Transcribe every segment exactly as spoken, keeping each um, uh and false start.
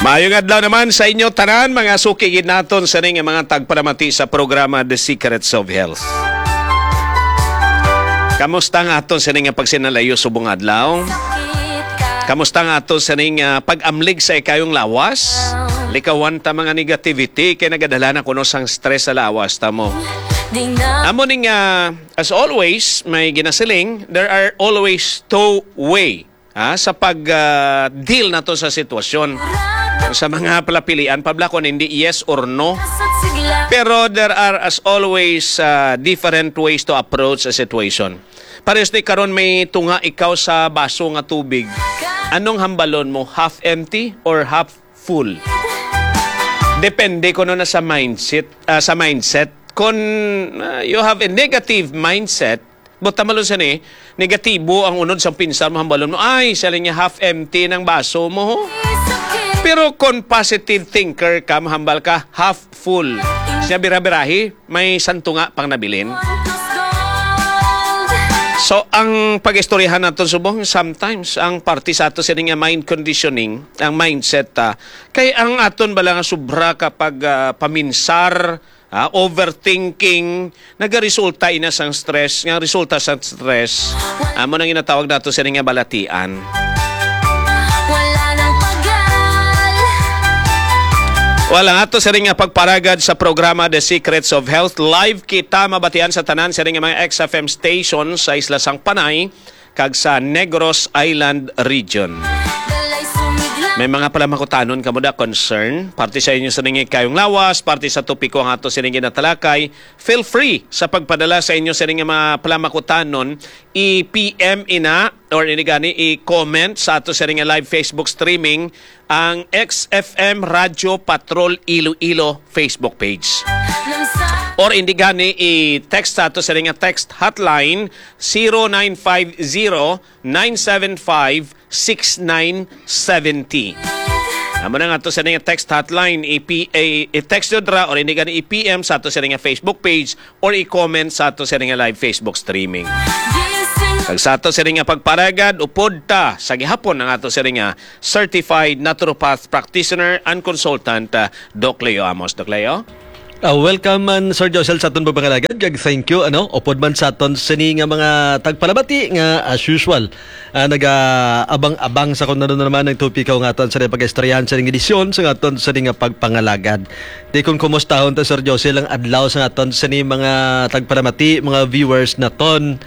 Maayong adlaw naman sa inyo tanan, mga suki gid naton sa ning mga tagpalamati sa programa The Secrets of Health. Kamusta ang aton sa ning pagsinalayo subong adlaw? Kamusta ang aton sa ning, ah, pag-amlig sa ikayong lawas? Likawan ta mga negativity kay nagadala na kuno sang stress sa lawas ta mo. Amo ning, ah, as always, may ginasiling, there are always two way, ha, sa pag, ah, deal nato sa sitwasyon. Sa mga palapilian, pabla kon hindi yes or no. Pero there are, as always, ah, different ways to approach a situation. Pares ni karon may tunga ikaw sa baso nga tubig. Anong hambalon mo? Half empty or half full? Depende kuno na sa mindset, ah, sa mindset. Kung, ah, you have a negative mindset, but tamalon sa ni, negatibo ang unod sang pinsar mo, hambalon mo, "Ay, sa linya half empty ng baso mo." Pero kung positive thinker ka, mahambal ka, half full. Siya bira-birahi, may santunga pang nabilin. So, ang pag-istoryahan naton subong, sometimes, ang parte sa ato sini nga mind conditioning, ang mindset, ah, kay ang aton bala nga sobra kapag, ah, paminsar, ah, overthinking, nagaresulta ina sang stress, nga resulta sang stress, amo nang ginatawag nato sini nga balatian. Wala nang pagal. Wala nga to siring nga pagparagad sa programa The Secrets of Health. Live kita mabatian sa tanan siring nga mga X F M stations sa isla sang Panay kag sa Negros Island Region. May mga palamangkutanon kamo da concern parte sa inyo sa nangikayong lawas, parte sa topiko nga ato sining ginatalakay, feel free sa pagpadala sa inyo sining nga mga palamangkutanon, i-P M ina or ini gani i-comment sa ato sining nga live Facebook streaming ang X F M Radyo Patrol Iloilo Facebook page. Or hindi gani i-text sa ato sining nga text hotline, zero nine five zero, nine seven five, six nine seven zero. Amo na nga to sa nga text hotline, i-P A, i-text nyo dra or hindi gani i-P M sa ato sa nga Facebook page or i-comment sa ato sa nga live Facebook streaming. Kag sa ato sa nga pagparagad, upod ta sa gihapon ang ato sa nga certified naturopath practitioner and consultant, ah, Doc Leo Amos. Doc Leo? Ah, welcome man, Sir Josel, sa aton pagpangalagad, kag thank you, ano, upod man sa aton sini nga mga tagpalamati nga, as usual, ah, nagaabang-abang sa kung ano na naman ang topiko nga aton sa pag-istoryahan sa edisyon sa aton sini nga pagpangalagad. Di kung kumustahon ta, Sir Josel, ang adlaw sa aton sini mga tagpalamati, mga viewers naton.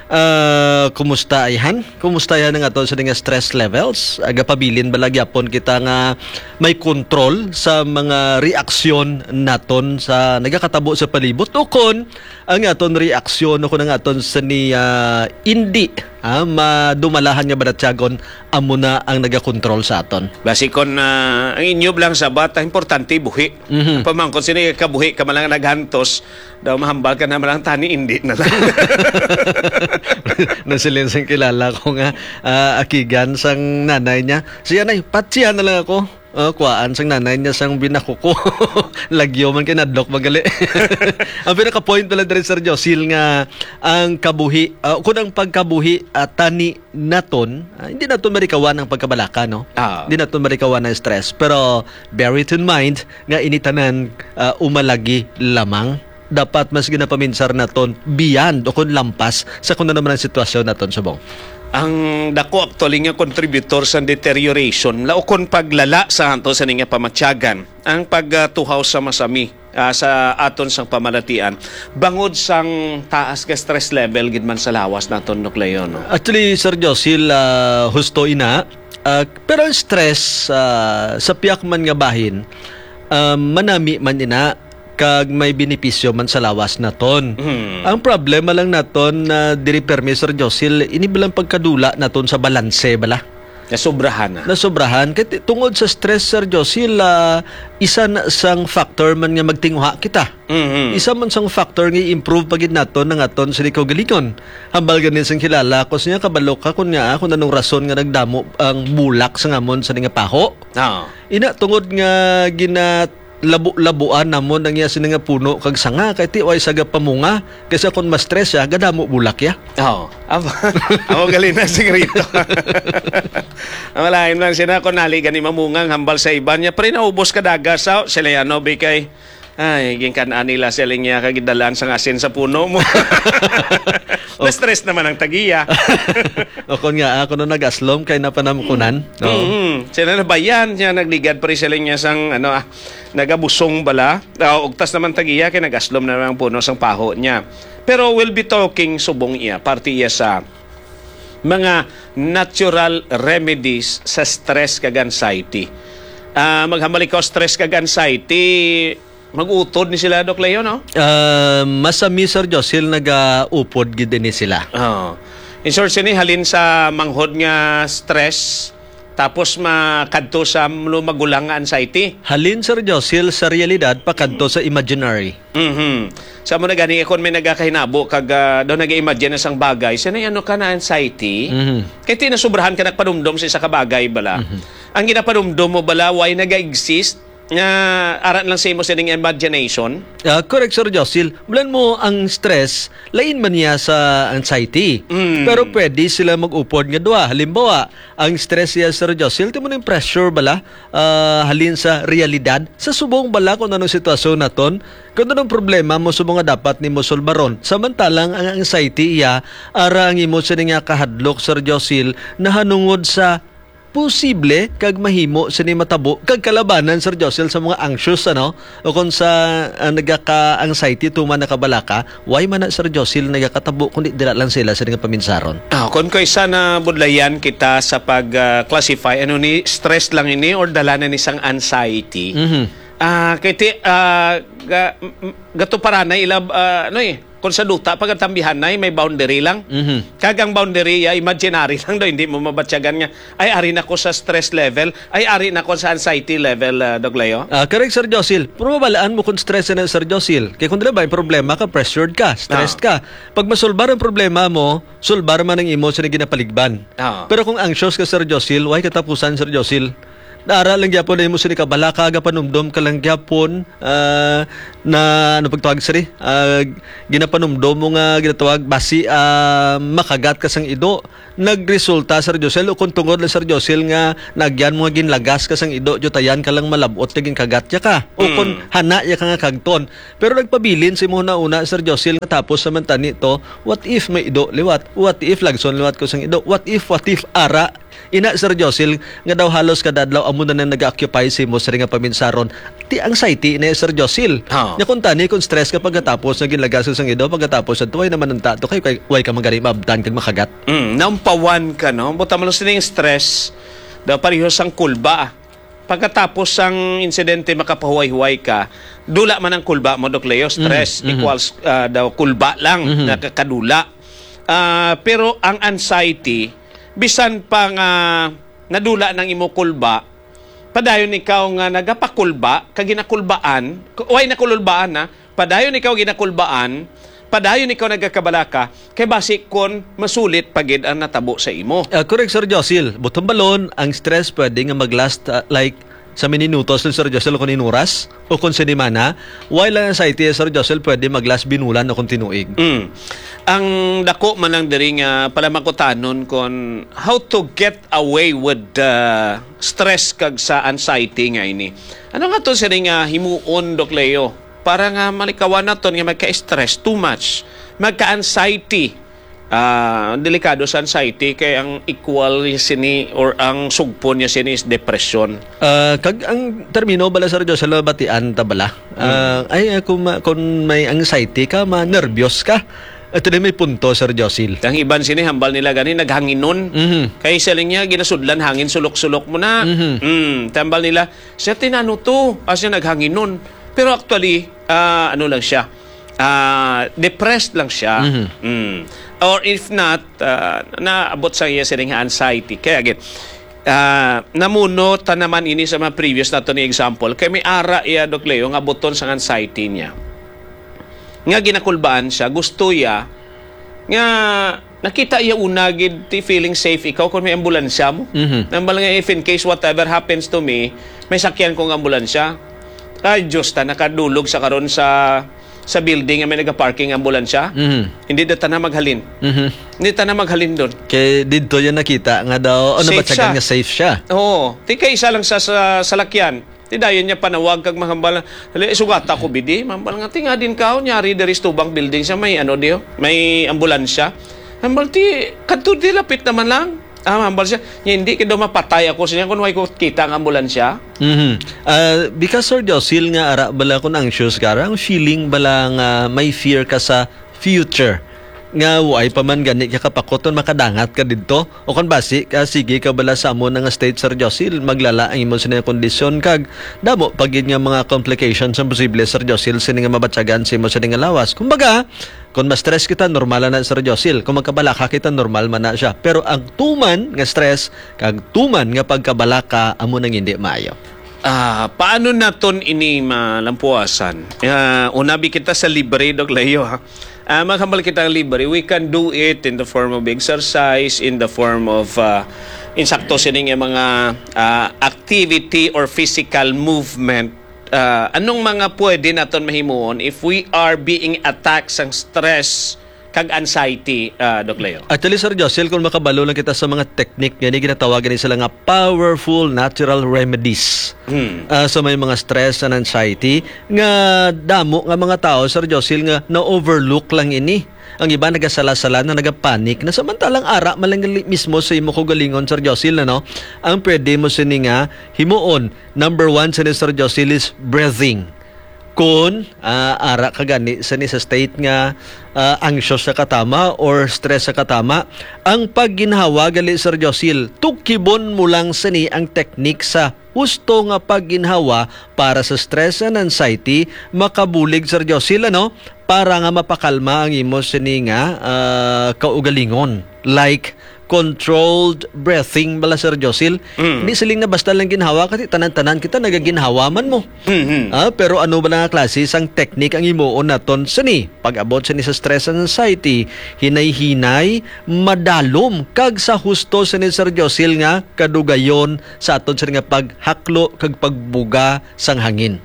Ah, kumusta ayhan? Kumusta ayhan ang aton sini nga stress levels? Agapabilin ba lagi apon kita nga may kontrol sa mga reaksyon naton sa nagakatabo sa palibot, o kon ang aton reaksyon o kon ang aton sini, ah, indi, ah, madumalahan nga balatyagon amo na ang nagakontrol sa aton. Basi kon, ah, ang inyo lang sabat, ang importante buhi. Mhm. Pamangkon sini kabuhi ka man lang naghantos, daw mahambal ka na man lang tani, indi na lang. Nasiling sang kilala ko nga, ah, akigan sang nanay niya. Siya na, patsihan na lang ako. Ah, kuwaan sang nanay niya sang binakuko. Lagyo man kay nadlok magali. Ang pinaka-point pala diri, Sir Josil, nga ang kabuhi, ah, kun ang pagkabuhi, ah, tani naton, ah, hindi naton marikawan ang pagkabalaka, no? Ah. Hindi naton marikawan ang stress. Pero bear it in mind nga ini tanan, ah, umalagi lamang. Dapat mas ginapaminsar naton beyond o kun lampas sa kun ano man ang sitwasyon naton subong. Ang dako actually nga contributor sa deterioration, laukon paglala sa ato sa nga pamatyagan, ang pagtuhaw sa masami, ah, sa aton sang pamalatian, bangod sang taas nga stress level gid man sa lawas naton, Doc Leo, no? Actually, Sir Josil, ah, husto ina, ah, pero ang stress, ah, sa piyak man nga bahin, ah, manami man ina, kag may benepisyo man sa lawas naton. Hmm. Ang problema lang naton na diri permi, Sir Josil, ini balang pagkadula naton sa balanse bala. Nasobrahan na. Nasobrahan. Kay ti-, tungod sa stress, Sir Josil, ah, isa na sang factor man nga magtinguha kita. Mhm. Isa man sang factor nga i-improve pa gid naton ang aton sini kaugalingon. Hambal gani sang kilala ko, siya kabalo ka kun nga, kun anong rason nga nagdamo ang bulak sa ngamon sa nga paho. Ah. Ina, tungod nga gina-, labo-labuan namon ang iya sini nga puno kag sanga, kay ti way sa gapamunga, kaysa kon ma-stress siya, gadamo bulak ya. Oo. Amo, amo gali na sikreto. Ang malain lang sina kung nali gani mamungang hambal sa iban niya, pre, naubos ka daga sa sila yan, no, bikay. Ay, ginkan-an nila sila niya kag gidalaan sang asin sa puno mo. Na-stress naman ang tagiya. O kon nga, ah, kuno nag-aslom kay napanamukunan, no? Mm. Sila na bayan niya nagligad, pre, sila niya sang, ano, ah, nagabusong bala. Ah, ugtas naman tagiya kay nag-aslom na ang puno sang paho niya. Pero we'll be talking subong iya, parte iya sa mga natural remedies sa stress kag anxiety. Ah, maghambal ikaw, stress kag anxiety, mag-utod ni sila, Doc Leo, no? Ah, masami, Sir Josil, nagaupod gid ini sila. Oo. In short, sini halin sa manghod nga stress, tapos makadto sa magulang nga anxiety. Halin, Sir Josil, sa realidad pakadto sa imaginary. Mhm. Sa mo na gani, kung may nagakahinabo kag, ah, daw nag-imagine na sang bagay, sa ano ka na anxiety, Mhm. kay ti nasubrahan ka nagpanumdom sa isa ka bagay bala. Mhm. Ang ginapanumdom mo bala, why naga-exist? Nga ara lang sa imo sining imagination? Ah, correct, Sir Josil. Bulan mo ang stress, lain man niya sa anxiety. Mm. Pero pwede sila mag-upod nga duha. Halimbawa, ang stress niya, Sir Josil, timo ning pressure bala, ah, halin sa realidad. Sa subong bala kung anong sitwasyon naton, kung anong problema mo subong nga dapat nimo sulbaron. Samantalang ang anxiety iya, ara ang imo sini nga kahadlok, Sir Josil, nahanungod sa posible kag mahimo sini matabo kag kalabanan, Sir Josil, sa mga anxious, ano, o kon sa, ah, nagaka-anxiety tuman nakabalaka, why man na, Sir Josil, nagakatabo kundi dira lang sila sa nga paminsaron? Ah, kon kaysa na budlayan kita sa pag, ah, classify, ano ni, stress lang ini or dala na ni sang anxiety? Mhm. Ah, kay ti-, ah, ga-, m-, m-, gatuparanay ila, ah, ano eh, kung sa duta, pag ang tambihanay, may boundary lang. Mhm. Kag ang boundary, ah, imaginary lang daw, hindi mo mabatyagan nga, "Ay, ari na ko sa stress level. Ay, ari na ko sa anxiety level," ah, Doc Leo. Ah, correct, Sir Josil. Pero mabalaan mo kung stress na, Sir Josil. Kaya kung dili ba, yung problema ka, pressured ka, stressed Ah. ka. Pag masulbar ang problema mo, sulbar man ang imo sa ginapaligban. Ah. Pero kung anxious ka, Sir Josil, why katapusan, Sir Josil? Naara lang gyapon na imo sini kabalaka, gapanumdom ka lang gyapon, ah, na, ano pagtawag sini? Ah, ginapanumdom mo nga ginatawag basi, ah, makagat ka sang ido. Nagresulta, Sir Josel, o kung tungod lang, Sir Josel, nga nagyan mo nga ginlagas ka sang ido, jutayan ka lang malabot nga ginkagat ya ka. O kung Mm. hana ya ka nga kagton. Pero nagpabilin si mo na una, Sir Josel, nga tapos naman tani to, what if may ido liwat? What if lagson liwat ko sang ido? What if, what if ara? Ina, Sir Josil, nga daw halos kada adlaw amo na nang nag-occupy sa imo sini nga paminsaron. Ti anxiety na, Sir Josil. Ha. Nya kung tani, kung stress ka pagkatapos nga ginlagas sang ido, pagkatapos sa tuway naman ang tato kay, kay, way ka magari maabtan kag makagat. Mm, naumpawan ka, no? Buta mo lang sining stress, daw pareho sang kulba. Pagkatapos sang insidente, makapahuway-huway ka, dula man ang kulba mo, Doc Leo. Stress Mhm, mhm. equals, ah, daw kulba lang, Mhm. nakakadula. Ah, pero ang anxiety, bisan pa nga nadula nang imo kulba, padayon ikaw nga nagapakulba, kag ginakulbaan, ku-, way nakululbaan na, padayon ikaw ginakulbaan, padayon ikaw nagakabalaka, kay basi kon masulit pa gid ang natabo sa imo. Ah, correct, Sir Josil. Buton balon, ang stress pwede nga mag-last, ah, like, sa minutos ni Sir Josil kung inuras o kung sinimana, while ang anxiety, Sir Josil, pwede mag-last binulan o kung tinuig. Mm. Ang dako man lang diri nga palamakutanon kon how to get away with the stress kag sa anxiety nga ini. Ano nga to sini nga himuon, Doc Leo? Para nga malikawan naton nga magka-stress too much, magka-anxiety. Ah, delikado sa anxiety kay ang equal sini or ang sugpon niya sini is depression. Ah, kag ang termino bala, Sir Joshua, batian ta bala. Ah, Mm. ay, ah, kung ma-, kung may anxiety ka, ma-nervyos ka. Ito na may punto, Sir Josil. Ang iban sini, hambal nila gani, naghanginon. Mhm. Kay siling niya, ginasudlan hangin, sulok-sulok mo na. Mhm. Mm, tambal nila, siya tinano to, as in, naghanginon. Pero actually, ah, ano lang siya, ah, depressed lang siya. Mhm. Mm. Or if not, ah, naabot sa iya sining anxiety. Kaya again, ah, namuno ta naman ini sa mga previous nato ni example. Kay may ara iya, Doc Leo, nga buton sang anxiety niya. Nga ginakulbaan siya, gusto iya, nga nakita iya una gid ti feeling safe ikaw kung may ambulansya mo. Mhm. Nambal nga, if in case whatever happens to me, may sakyan kong ambulansya. Ay, Diyos, ta nakadulog sa karon sa sa building nga may nagaparking nga ambulansya. Mhm. Hindi da ta na maghalin. Mhm. Hindi ta na maghalin doon. Kay didto yan nakita nga daw, ano ba, Safe siya. Nga safe siya? Oo. Di kay isa lang sa, sa salakyan. Di dayon niya panawag kag mahambal, "Hali, sugata ko, bidi." Mahambal nga, "Tinga din ka, nyari diri sa tubang building siya, may ano diyo, may ambulansya." Hambal, "Ti, kadto di lapit naman lang." Ah, hambal siya, "Nya, hindi kay daw mapatay ako siya kung way ko kita ang ambulansya." Mhm. Ah, because, Sir Josil, nga ara bala kung anxious ka, ara ang feeling bala nga may fear ka sa future, nga way pa man gani ka kapakot kung makadangat ka didto, o kung basi ka, sige ka bala sa amo na nga state, Sir Josil, maglala ang imo sini nga kondisyon, kag damo pa gid nga mga complications ang posible, Sir Josil, sini nga mabatyagan sa imo sini nga lawas. Kumbaga, kung ma-stress kita, normal na, Sir Josil. Kung magkabalaka kita, normal man na siya. Pero ang tuman nga stress, kag tuman nga pagkabalaka, amo nang hindi maayo. Ah, paano naton ini malampuasan? Ah, unabi kita sa libre, Doc Leo, ha? Ah, maghambal kita ang libre. We can do it in the form of exercise, in the form of, ah, insakto sining mga, ah, activity or physical movement. Ah, anong mga pwede naton mahimuon if we are being attacked sang stress kag anxiety, ah, Doc Leo? Actually, Sir Josil, kung makabalo lang kita sa mga technique nga ni, ginatawag ni sila nga powerful natural remedies. Hmm. Ah, sa may mga stress and anxiety, nga damo nga mga tao, Sir Josil, nga na-overlook lang ini. Ang iba nagasala-sala na, nagapanic na, samantalang ara man lang gali mismo sa imo kaugalingon, Sir Josil, ano? Ang pwede mo sini nga himuon, number one sini, Sir Josil, is breathing. Kun, ah, ara ka gani sini sa state nga, ah, anxious sa katama or stress sa katama, ang pagginhawa gali, Sir Josil, tukibon mo lang sini ang teknik sa husto nga pagginhawa para sa stress and anxiety, makabulig, Sir Josil, ano, para nga mapakalma ang imo sini nga, ah, kaugalingon. Like, controlled breathing bala, Sir Josil. Mm. Hindi siling na basta lang ginhawa, kasi tanan-tanan kita nagaginhawa man mo. Mhm. Ah, pero ano ba nga klase sang teknik ang himuon naton sini? Pag-abot sini sa stress and anxiety, hinay-hinay, madalom, kag sa husto sini, Sir Josil, nga kadugayon sa aton sini nga paghaklo kag pagbuga sang hangin.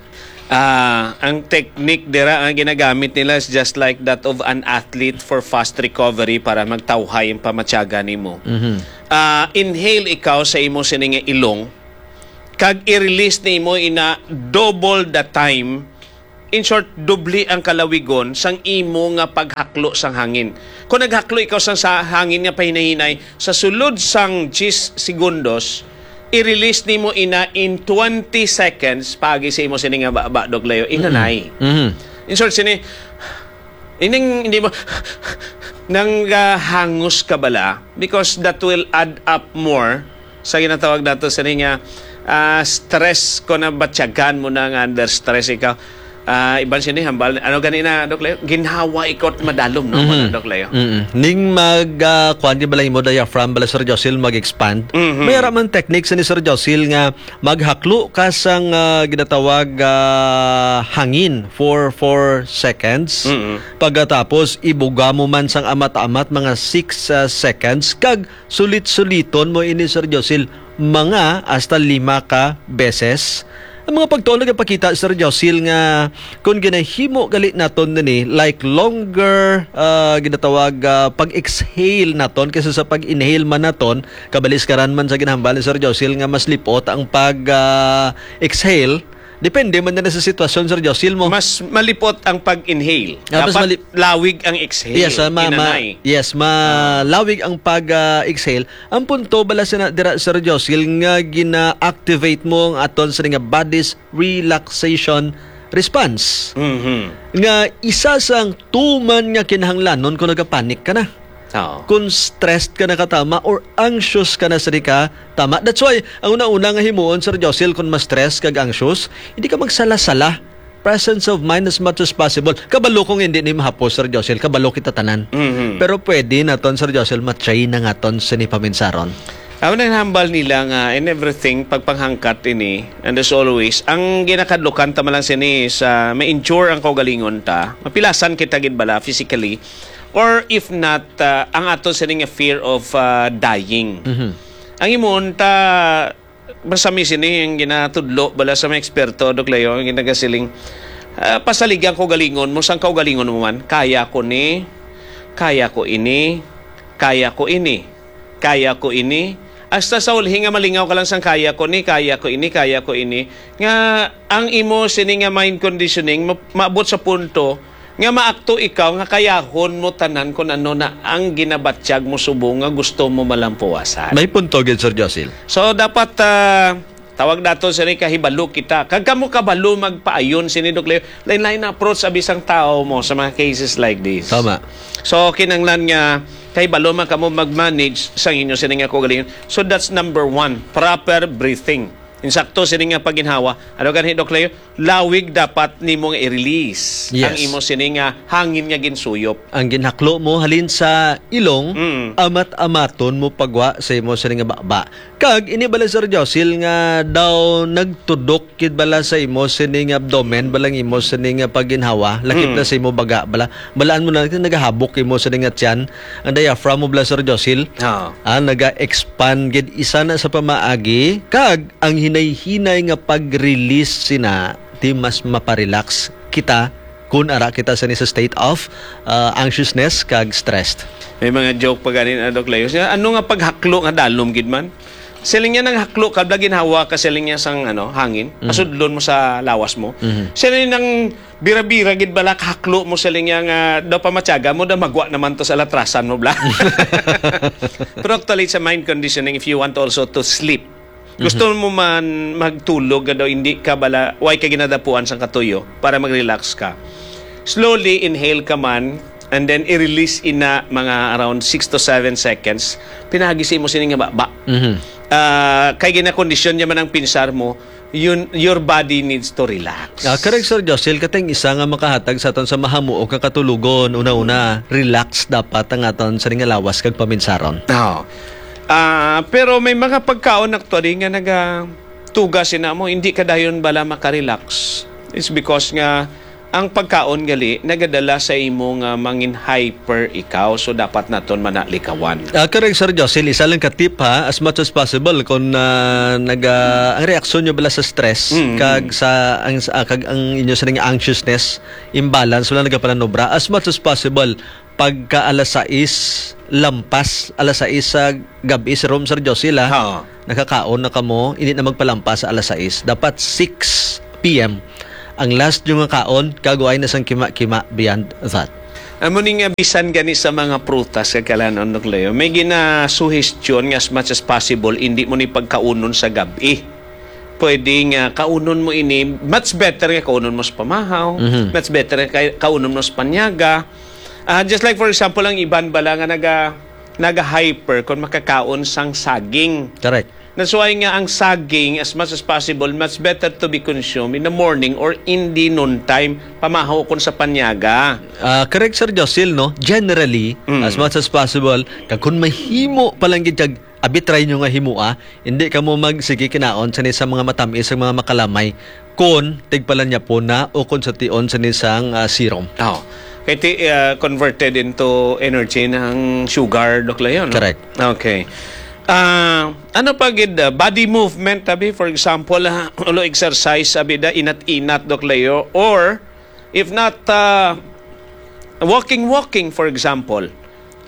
Ah, ang technique dira nga ginagamit nila is just like that of an athlete for fast recovery para magtawhay ang pamatyaga nimo. Mhm. Ah, inhale ikaw sa imo sini nga ilong, kag i-release nimo ina double the time. In short, doble ang kalawigon sang imo nga paghaklo sang hangin. Kung naghaklo ikaw sang sa hangin nga pahinahinay, sa sulod sang diyes segundos, i-release nimo ina in twenty seconds, paagi sa imo sini nga baba, Doc Leo, Mm-mm. inanay. Mhm. In short, sini, ining hindi mo nang, ah, hangos ka bala, because that will add up more sa ginatawag nato sini nga, ah, stress, ko na batyagan mo na nga under stress ikaw. Ah, iban sini hambal, ano gani na, Doc Leo? Ginhawa ikot madalom, no? Mhm. Doc Leo? Mm-mm. Ning mag, ah, kuwan, di bala imo diaphragm, bala, Sir Josil, mag-expand. Mhm. May ara man technique sa ni Sir Josil nga maghaklo ka sang, ah, ginatawag, ah, hangin for four seconds. Mm-mm. Pagkatapos, ibuga mo man sang amat-amat mga six, ah, seconds. Kag sulit-suliton mo ini, Sir Josil, mga hasta lima ka beses. Ang mga pagtuon nagapakita, Sir Josil, nga kung ginahimo gali naton nini, like, longer, ah, ginatawag, ah, pag-exhale naton kaysa sa pag-inhale man naton, kabaliskaran man sa ginahambal ni Sir Josil nga mas lipot ang pag, ah, exhale. Depende man na sa sitwasyon, Sir Josil, mo. Mas malipot ang pag-inhale. Ah, mas Dapat mali- lawig ang exhale. Yes, ah, ma-, ma-, Inanay. yes, ma-, Ah. lawig ang pag, ah, exhale. Ang punto bala sina dira, Sir Josil, nga gina-activate mo ang aton sa nga body's relaxation response. Mhm. Nga isa sang tuman nga kinahanglanon kung nagapanik ka na. Oo. Kung stressed ka na katama or anxious ka na sa di ka tama. That's why, ang una-una nga himuon, Sir Josil, kung ma-stress kag anxious, hindi ka magsala-sala. Presence of mind as much as possible. Kabalo kong hindi ni mahapos, Sir Josil. Kabalo kita tanan. Mhm. Pero pwede naton, Sir Josil, matry na nga ton sa ni paminsaron. Ako nang hambal nila nga in everything, pagpanghangkat ini, and as always, ang ginakadlukan ta man lang sini sa ma-injure ang kaugalingon ta, mapilasan kita gid bala physically, or if not, ah, ang ato sini nga fear of, ah, dying. Mhm. Ang imon ta, Basta mi sini ang ginatudlo bala sa mga eksperto, Doc Leo, ang ginagasiling, ah, pasaligan ko galingon mo, sang kaugalingon mo man, kaya ko ni, kaya ko ini, kaya ko ini, kaya ko ini. Hasta sa ulhi nga malingaw ka lang sang kaya ko ni, kaya ko ini, kaya ko ini. Nga ang imo sini nga mind conditioning, ma-, maabot sa punto nga maakto ikaw nga kayahon mo tanan kun ano na ang ginabatyag mo subong nga gusto mo malampuwasan. May punto gid, Sir Josil. So, dapat, ah, tawag nato sini kahibalo kita. Kag kamo kabalo magpaayon sini, Doc Leo. Lain-lain na approach abi sang tawo mo sa mga cases like this. Tama. So, kinahanglan nga kahibalo man kamo mag-manage sang inyo sini nga kaugalingon. So, that's number one, proper breathing. Insakto sini nga pagginhawa. Ano gani, Doc Leo? Lawig dapat nimo nga i-release Yes. ang imo sini nga hangin nga ginsuyop. Ang ginhaklo mo halin sa ilong, Mm. amat-amaton mo pagwa sa imo sini nga baba. Kag ini bala, Sir Josil, nga daw nagtudok gid bala sa imo sini nga abdomen, bala ang imo sini nga pagginhawa, lakip Mm. na sa imo baga bala. Balaan mo na nagahabok imo sini nga tiyan, ang diaphragm mo bala, Sir Josil. Ah. Ah, naga-expand gid isa na sa pamaagi, kag ang hinay-hinay nga pag-release sina, di mas maparelax kita kun ara kita sini sa state of, ah, anxiousness kag stressed. May mga joke pa gani na, Doc Leo. Siya, ano nga paghaklo nga dalom gid man? Siling niya, nang haklo ka, bala ginhawa ka, siling niya, sang, ano, hangin, Mhm. pasudlon mo sa lawas mo. Mhm. Siling nang bira-bira gid bala, haklo mo, siling niya, nga daw pamatyaga mo, daw magwa naman to sa latrasan mo, bla. Pero actually, it's a mind conditioning if you want also to sleep. Gusto Mhm. mo man magtulog nga daw, hindi ka bala, way ka ginadapuan sang katuyo para mag-relax ka. Slowly inhale ka man, and then i-release ina mga around six to seven seconds. Pinagi sa imo sini nga baba. Mhm. Ah, kay ginakondisyon niya man ang pinsar mo, yun, your body needs to relax. Ah, correct, Sir Josil. Katay ang isa nga makahatag sa aton sa mahamuok nga katulogon. Una-una, relax dapat ang aton sa nga lawas kag paminsaron. Oo. Ah, pero may mga pagkaon actually nga nagatuga sina mo, hindi ka dayon bala makarelax. It's because nga ang pagkaon gali nagadala sa imo nga mangin hyper ikaw, so dapat naton manalikawan. Ah, correct, Sir Josil. Isa lang ka tip, ha, as much as possible, kung, ah, naga-, ang reaksyon nyo bala sa stress, Mm. kag sa, ang, ah, kag ang inyo sining anxiousness, imbalance, wala nagapananubra, as much as possible, pagka alas sais lampas, alas sais sa gab-i, Sir Rom, Sir Josil, ha? Oo. Nakakaon na kamo, hindi na magpalampas sa alas sais. Dapat six p m ang last nyo nga kaon, kag way na sang kima-kima beyond that. Amo ni nga bisan gani sa mga prutas kag kalanon, Doc Leo, may ginasuhestyon nga as much as possible, hindi mo ni pagkaunon sa gab-i. Pwede nga kaunon mo ini, much better nga kaunon mo sa pamahaw, Mhm. much better nga kay-, kaunon mo sa panyaga. Ah, just like, for example, ang iban bala nga naga-, naga-hyper kung makakaon sang saging. Correct. That's why nga ang saging, as much as possible, much better to be consumed in the morning or in the noontime, pamahaw kon sa panyaga. Ah, correct, Sir Josil, no? Generally, Mm. as much as possible, kag kung mahimo pa lang gid kag abi, try nyo nga himua, hindi kamo magsige kinaon sini sa mga matamis, sa mga makalamay, kon tigpalanyapo na o kon sa tion sini sang, ah, serum. Oh. Kay ti-, ah, converted into energy ng sugar, Doc Leo, no? Correct. Okay. Ah, ano pa gid, ah, body movement, abi, for example, ah, ulo exercise, abi, da, inat-inat, Doc Leo, or if not, ah, walking, walking, for example.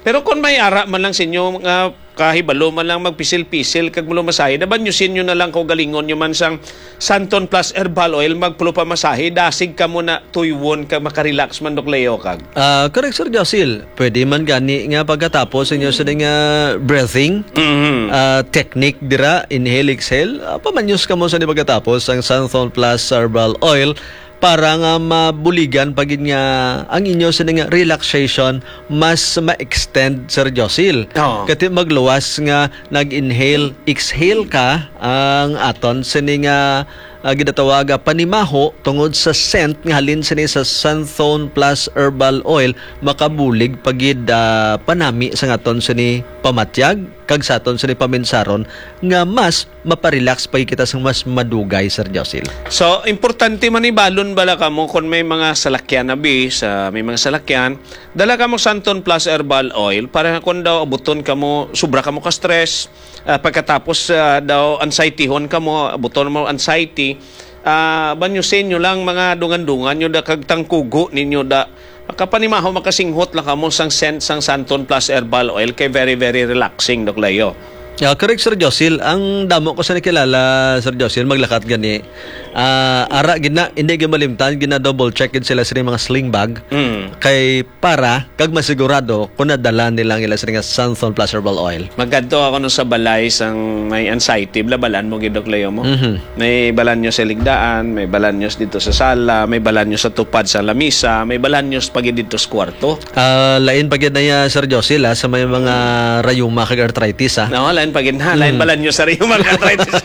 Pero kung may ara man lang sa inyo nga kahibalo man lang magpisil-pisil kag malumasahi, daban nyo sin nyo na lang kaugalingon nyo man sang Santon Plus Herbal Oil, magpulupamasahe, dasig kamo na tuywon kag makarelax man, Doc Leo, kag. Ah, correct, Sir Josil. Pwede man gani nga pagkatapos inyo sa nga breathing, Mhm. ah, technique dira, inhale, exhale, ah, pamanyos kamo sa ni pagkatapos ang Santon Plus Herbal Oil para nga mabuligan pa gid nga ang inyo sini nga relaxation mas ma-extend, Sir Josil. Oo. Kati magluwas nga nag-inhale, exhale ka, ang aton sini nga, ah, ginatawag nga panimaho tungod sa scent nga halin sini sa Santhone Plus Herbal Oil, makabulig pa gid, ah, panami sa aton sini pamatyag kag sa aton sini paminsaron nga mas maparelax pa kita sang mas madugay, Sir Josil. So, importante man ibalon bala kamo kung may mga salakyan na bi, sa may mga salakyan, dala kamo Santon Plus Herbal Oil para kung daw abuton kamo, sobra kamo ka stress, Ah, pagkatapos, ah, daw anxiety-hon ka mo, buton mo anxiety, ah, banyosin nyo lang mga dungan-dungan nyo da kag tangkugo ninyo da. Makapanimaho, makasinghot lang kamo sang scent sang Santon Plus Herbal Oil kay very, very relaxing, Doc Leo. Yeah, correct, Sir Josil. Ang damo ko sa nakilala, Sir Josil, maglakat gani. Ah, ara gid na, hindi gid malimtan, gina-double check gid sila sa mga sling bag. Mm. Kay para kag masigurado kung nadala nila ang ila sini nga Santhon Plus Herbal Oil. Magadto ako no sa balay sang may anxiety, blabalan mo gid, Doc Leo, mo. Mhm. May balanyos sa ligdaan, may balanyos dito sa sala, may balanyos sa tupad sa lamisa, may balanyos pa gid dito sa kwarto. Ah, lain pa gid na ya, Sir Josil, ah, sa may mga rayuma kag arthritis, ah. No, lain pa gid na. Lain Mm. balanyos sa rayuma kag arthritis.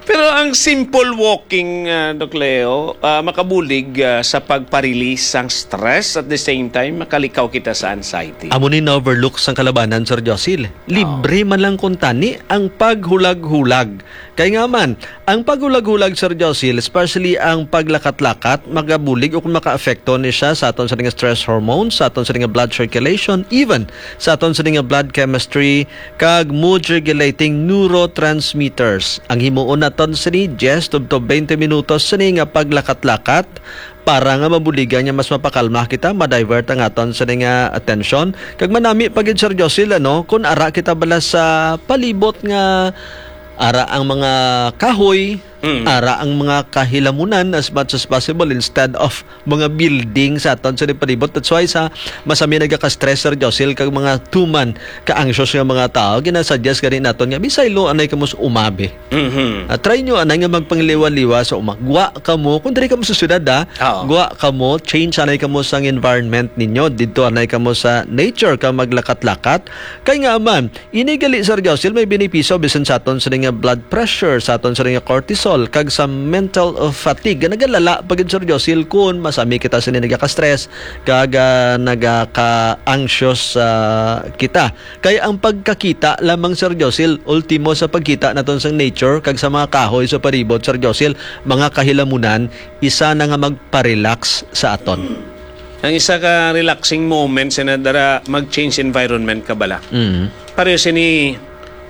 Pero ang simple walking, ah, Doc Leo, ah, makabulig, ah, sa pagpa-release sang stress, at the same time makalikaw kita sa anxiety. Amo ni na-overlook sang kalabanan, Sir Josil. Libre man lang kuntani ang paghulag-hulag. Kay nga man, ang paghulag-hulag, Sir Josil, especially ang paglakat-lakat, magabulig o kung makaapekto ni siya sa aton sa nga stress hormones, sa aton sa nga blood circulation, even sa aton sa nga blood chemistry, kag mood-regulating neurotransmitters. Ang himuon naton sini, diyes tubtob twenty minutos sini nga paglakat-lakat para nga mabuligan nga mas mapakalma kita, ma-divert ang aton sini nga atensyon. Kag manami pa gid, Sir Josil, ano, kung ara kita bala sa palibot nga ara ang mga kahoy, Mm. ara ang mga kahilamunan as much as possible instead of mga building sa aton sa palibot. That's why sa masami nagaka-stress, Sir Josil, kag mga tuman ka-anxious nga mga tao, ginasuggest gani naton nga bisaylo anay kamo sa umabi. Mhm. Ah, try nyo anay nga magpangliwa-liwa sa uma. Gwa kamo, kung diri kamo sa syudad, ah, Oo. gwa kamo, change anay kamo sa environment ninyo. Didto anay kamo sa nature ka maglakat-lakat. Kay nga man, ini gali, Sir Josil, may benepisyo bisan sa aton sa nga blood pressure, sa aton sa nga cortisol, kag sa mental, uh, fatigue. Nagalala pa gid, Sir Josil, kun masami kita sa nagaka-stress, kag, ah, nagaka-anxious, ah, kita. Kay ang pagkakita lamang, Sir Josil, ultimo sa pagkita naton sa nature kag sa mga kahoy sa palibot, Sir Josil, mga kahilamunan, isa na nga magpa-relax sa aton. Ang isa ka relaxing moment sa nadara, mag-change environment ka bala. Mm. Pareho sini,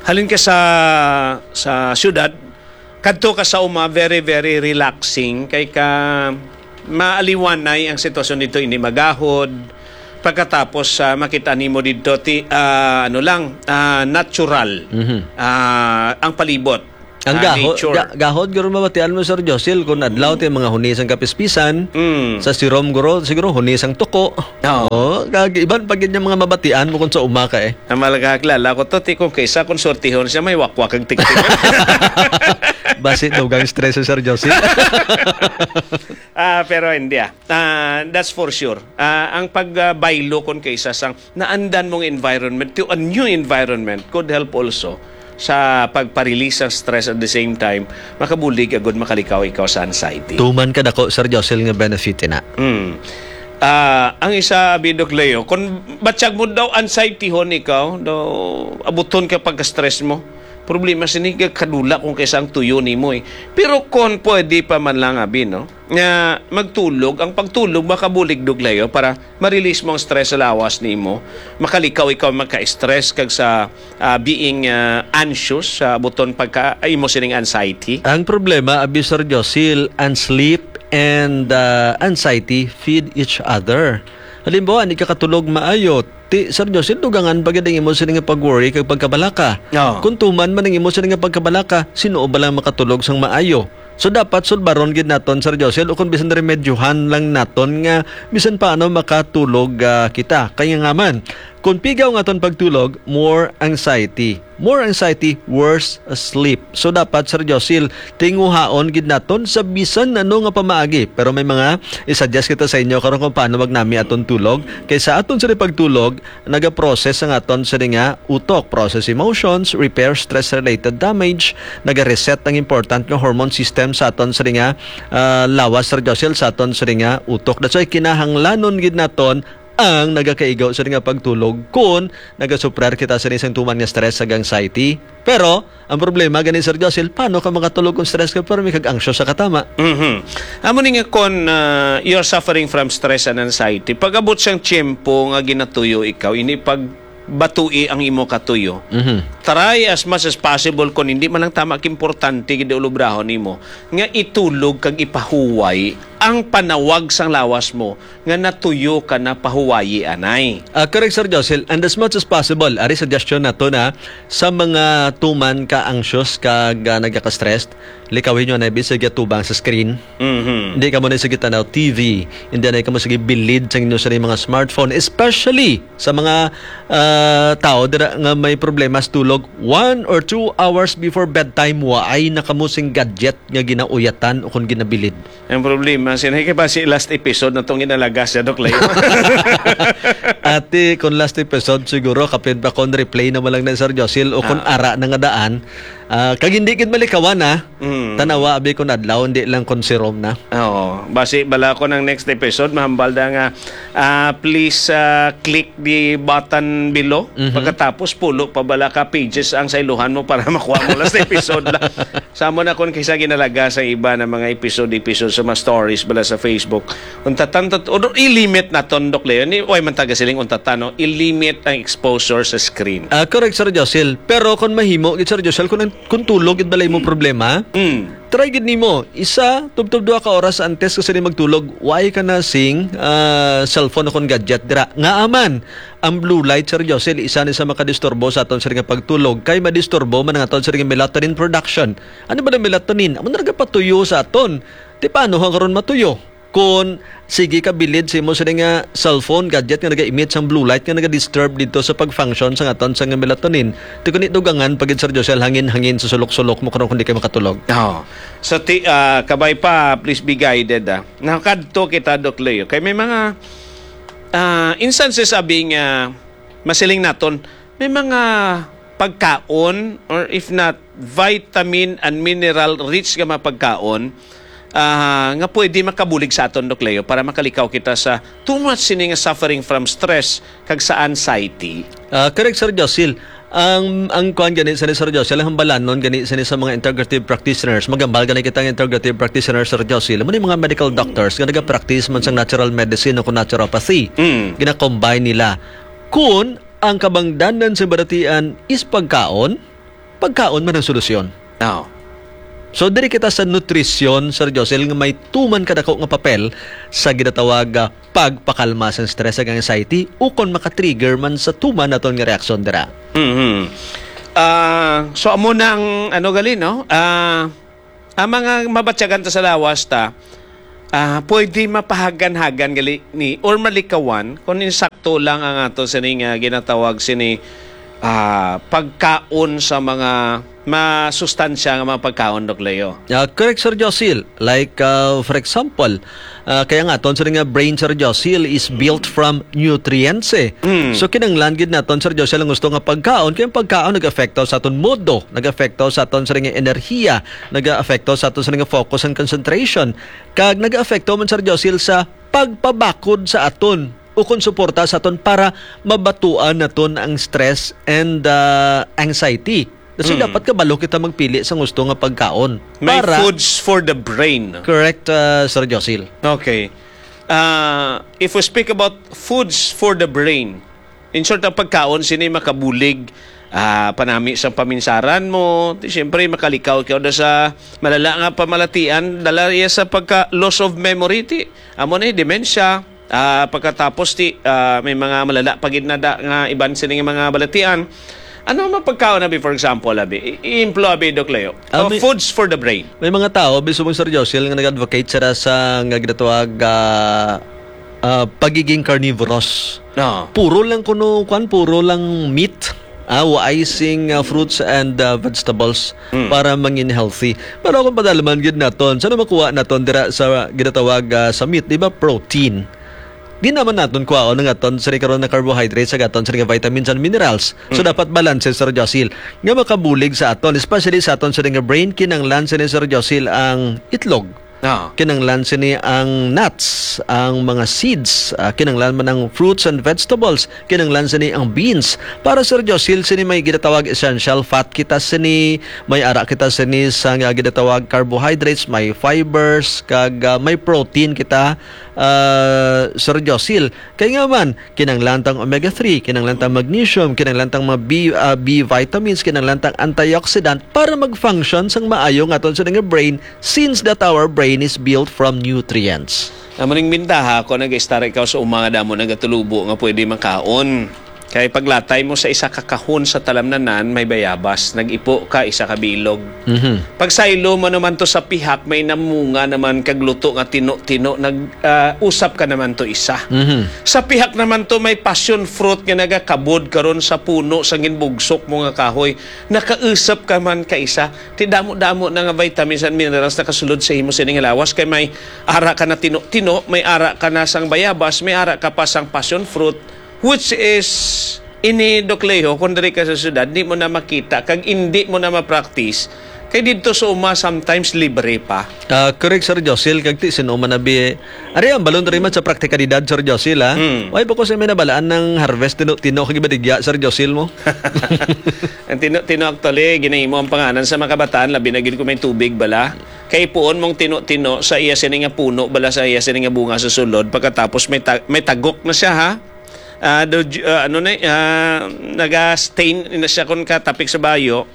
halin ka sa, sa syudad, kadto ka sa uma, very, very relaxing. Kay ka maaliwanay ang sitwasyon dito, hindi magahod. Pagkatapos, ah, makita nimo dito, ti, ah, ano lang, ah, natural, Mhm. ah, ang palibot, Ang ah, gaho-, nature. ga-, gahod, guro, mabatian mo, Sir Josil, kung adlaw ti mga huni sang kapispisan, Mm. sa sirom, guro, siguro huni sang tuko. Oo. Oo, kag iban pa gid yung mga mabatian mo kung sa uma ka, eh. Ang malagakilala ko to, ti kung kaysa kung sortihon siya, may wakwak ang tiktik. Basi dugang stress si Sir Josil. Ah, pero hindi, ah. Ah, that's for sure. Ah, ang pag, ah, baylo kon kaysa sang naandan mong environment to a new environment could help also sa pagpa-release sang stress, at the same time makabulig agud makalikaw ikaw sa anxiety. Tuman ka dako, Sir Josil, nga benefit ina. Mm. Ah, ang isa, abi, Doc Leo, kung batyag mo daw anxiety hon ikaw, daw abuton ka pagka-stress mo, problema sini kadula kung kaysa ang tuyo nimo, eh. Pero kung pwede pa man lang, abi, no, nga magtulog, ang pagtulog makabulig, Doc Leo, para ma-release mo ang stress sa lawas nimo, makalikaw ikaw maka-stress kag sa, ah, being, ah, anxious, sa buton pagka, ah, imo sining anxiety. Ang problema, abi, Sir Josil, ang sleep and, ah, anxiety feed each other. Halimbawa, hindi ka katulog maayo, ti, Sir Josil, dugangan pa gid ang imo sini nga pag-worry kag pagkabalaka. Oo. Kung tuman man ang imo sini nga pagkabalaka, sino ba lang makatulog sang maayo? So, dapat sulbaron gid naton, Sir Josil, o kung bisan remedyuhan lang naton nga bisan paano makatulog, ah, kita. Kaya nga man, kung pigaw nga aton pagtulog, more anxiety. More anxiety, worse sleep. So, dapat, Sir Josil, tinguhaon gid naton sa bisan ano nga pamaagi. Pero may mga i-suggest kita sa inyo karon kung paano magnami aton tulog. Kay sa aton sa pagtulog, nagaprocess ang aton sini nga utok, process emotions, repair stress-related damage, naga-reset ang important nga hormone system sa aton sini nga, ah, lawas, Sir Josil, sa aton sini nga utok. That's why kinahanglanon gid naton ang nagakaigo sini nga pagtulog kung nagasuprar kita sini sang tuman nga stress kag anxiety. Pero ang problema gani, Sir Josil, paano ka makatulog kung stress ka pero may kag anxious sa katama? Mhm. Amo ni nga kon, ah, you're suffering from stress and anxiety, pag-abot sang tiyempo nga ginatuyo ikaw, ini pag batui ang imo katuyo. Mhm. Try as much as possible, kung hindi man lang tama, importante gid ulobrahon nimo nga itulog kag ipahuway ang panawag sang lawas mo nga natuyo ka na, pahuwayi anay. Ah, correct, Sir Josil. And as much as possible, ari suggestion nato na sa mga tuman ka anxious kag, ah, nagaka-stressed, likawin nyo na bisag atubang sa screen. Mhm. Hindi kamo na sige tanaw T V, hindi na kamo sige bilid sa inyo sa mga smartphone, especially sa mga, ah, tao dira nga may problema sa tulog. One or two hours before bedtime, waay na kamo sing gadget nga ginauyatan o kung ginabilid. Ang problema, sinay kay basi last episode na tong inalagas siya, Doc Leo. Ate, kung last episode, siguro kapin pa kon replay naman lang na, Sir Josil, o kung Ah. ara na nga daan, ah, kag hindi gid malikawan, ah. Mm. Tanawa, abi, kung adlaw, hindi lang kung serum na. Oo. Basi, bala ko ng next episode, mahambal na nga, ah, please, ah, click the button below. Mhm. Pagkatapos, pulo pa bala ka pages ang sailuhan mo para makuha mo last episode la. Sa amo na kung kisa ginalaga sa iba na mga episode-episode sa mga stories bala sa Facebook. Untatan to, o, i-limit naton, Doc Leo. Ni, oy, man taga siling untatan, no? I-limit ang exposure sa screen. Ah, correct, Sir Josil. Pero kung mahimo, gid, Sir Josil, kung, ang- kung tulog, gid balay mo problema, Mm. try gid nimo. Isa, tubtob duha ka oras antes ka sini magtulog, why ka na sing, ah, cellphone o kung gadget dira. Nga aman, ang blue light, Sir Josil, isa ni sa makadisturbo sa aton sini nga pagtulog, kay madisturbo man ang aton sini nga melatonin production. Ano ba ang melatonin? Amo na nagapatuyo sa aton. Di paano ha karon matuyo? Kung sige ka bilid sa imo sini nga cellphone, gadget nga naga-emit sang blue light nga naga-disturb dito sa pag-function sa aton sa nga melatonin, ti kuni dugangan pa gid, Sir Josel, hangin-hangin sa sulok-sulok mo karon kung di kay makatulog. Oh. So, ti, ah, kabay pa, please be guided, ah. Nakadto kita, Doc Leo. Kay may mga, ah, instances, abi nga, masiling naton, may mga pagkaon, or if not, vitamin and mineral rich nga mga pagkaon, ah, nga pwede makabulig sa aton, Doc Leo, para makalikaw kita sa too much sini nga suffering from stress kag sa anxiety. Ah, correct, Sir Josil. Ang, ang kuwan gani sa ni Sir Josil, ang hambalanon gani sa ni sa mga integrative practitioners. Magambal gani kita ng integrative practitioners, Sir Josil. Amo ni mga medical doctors nga nagapractice man sang natural medicine o kung naturopathy. Mm. Gina-combine nila. Kung ang kabangdanan sa baratian is pagkaon, pagkaon man ang solusyon. Oo. So, diri kita sa nutrisyon, Sir Josel, nga may tuman kadako nga papel sa ginatawag, ah, pagpakalma sa stress ug anxiety, ukon makatrigger man sa tuman naton nga reaksyon dira. Mhm. Ah, so, amo na ang, ano, gali, no? Ah, ang mga mabatyagan ta sa lawas ta, ah, pwede mapahagan-hagan gali ni, or malikawan, kung insakto lang ang ato sini nga ginatawag sini, ah, pagkaon sa mga masustansya nga mga pagkaon, Doc Leo. Ah, correct, Sir Josil. Like, ah, for example, ah, kaya nga aton sini nga brain, Sir Josil, is built from nutrients, eh. Mm. So, kinahanglan gid naton, Sir Josil, ang gusto nga pagkaon, kaya ang pagkaon nag-apekto sa aton mood, nag-apekto sa aton sini nga enerhiya, nag-aapekto sa aton sini nga focus and concentration, kag nag-aapekto man, Sir Josil, sa pagpabakod sa aton o kon suporta sa aton para mabatuan naton ang stress and, ah, anxiety. So, Mm. dapat kabalo kita magpili sa gusto nga pagkaon. May para foods for the brain. Correct, ah, Sir Josil. Okay. Ah, if we speak about foods for the brain, in short, ang pagkaon sini makabulig, ah, panami sa paminsaran mo. Di, siyempre, makalikaw ka da sa malala nga pamalatian, dala iya sa pagka loss of memory, ti, amo ni dementia. Ah, pagkatapos, ti, ah, may mga malala pa gid na da nga iban sini nga mga balatian. Ano ang mga pagkaon, abi, for example, abi? I-, i-emplo, abi, Doc Leo. Ah, Oh, may foods for the brain. May mga tao, bisubong, Sir Josil, nga nag-advocate sila sa nga ginatawag, ah, ah, pagiging carnivorous. Oo. Puro lang kuno, kwan, puro lang meat. Ah, waay sing, ah, fruits and, ah, vegetables Mm. para mangin healthy. Pero kung padalaman gid naton, sa makuha naton dira sa ginatawag, ah, sa meat, di ba, protein? Di naman naton kuhaon ang aton sini karon na carbohydrates, sa aton sini nga vitamins and minerals. So, Mm. dapat balanse, Sir Josil, nga makabulig sa aton, especially sa aton sini nga brain, kinanglan sini, Sir Josil, ang itlog. Ah. Kinahanglan sini ang nuts, ang mga seeds, ah, kinahanglan man ang fruits and vegetables, kinahanglan sini ang beans. Para, Sir Josil, sini may ginatawag essential fat kita sini, may ara kita sini sa nga ginatawag carbohydrates, may fibers, kag, ah, may protein kita, ah, Sir Josil. Kay nga man, kinahanglan tang omega three, kinahanglan tang magnesium, kinahanglan tang mga B, ah, B vitamins, kinahanglan tang antioxidant para mag-function sang maayo nga aton sa nga brain, since that our brain is built from nutrients. Amo ning bintaha kung nag-istar ikaw sa uma nga damo nagatulubo nga pwede makaon. Kay paglatay mo sa isa ka kahon sa talamnanan, may bayabas, nag-ipo ka isa ka bilog. Mhm. Pagsaylo mo naman to sa pihak, may namunga naman kag luto nga tino-tino, nag, ah, usap ka naman to isa. Mhm. Sa pihak naman to, may passion fruit nga nagakabod karon sa puno sa ginbugsok mo nga kahoy, nakausap ka man ka isa. Ti damo-damo na nga vitamins and minerals nakasulod sa imo sining lawas, kay may ara ka na tino-tino, may ara ka na sang bayabas, may ara ka pa sang passion fruit, which is ini, Doc Leo, kung diri ka sa syudad, di mo na makita, kag indi mo na ma-practice, kay didto sa uma sometimes libre pa. Ah, correct, Sir Josil, kag ti sin-o man abi. Ari ang balon rin man sa praktikalidad, Sir Josil, ha? Mm. Why po kasi may nabalaan ng harvest tino-tino kag ibaligya, Sir Josil mo? Ang tino-tino actually, ginahimo ang panganan sa mga kabataan, labi na gid kung may tubig bala. Kay puon mong tino-tino sa iya sini nga puno bala, sa iya sini nga bunga sa sulod, pagkatapos may ta-, may tagok na siya, ha? Ah, do, ah, ano na, ah, naga-stain na siya kon katapik sa bayo.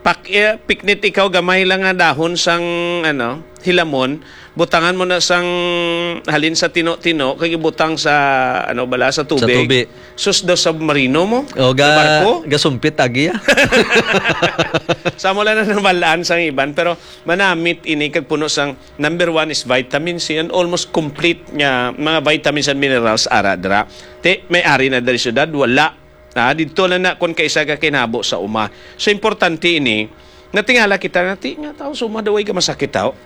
Pak-, eh, piknit ikaw gamay lang nga dahon sang, ano, hilamon, butangan mo na sang halin sa tino-tino, kag ibutang sa, ano bala, sa Sa tubig. Tubig. Sus, daw submarino mo? O, Sa ga-, barko? Gasumpit agi, ah. Sa mo lang na nabalaan sang iban, pero manamit ini kag puno sang, number one is vitamin C and almost complete nga mga vitamins and minerals ara dira. Ti, may ari na diri syudad, wala. Ah, didto na na kung kaisa ka kinabo sa uma. So, importante ini, natingala kita na, ti, nga tao, suma daw ay ka masakit tao.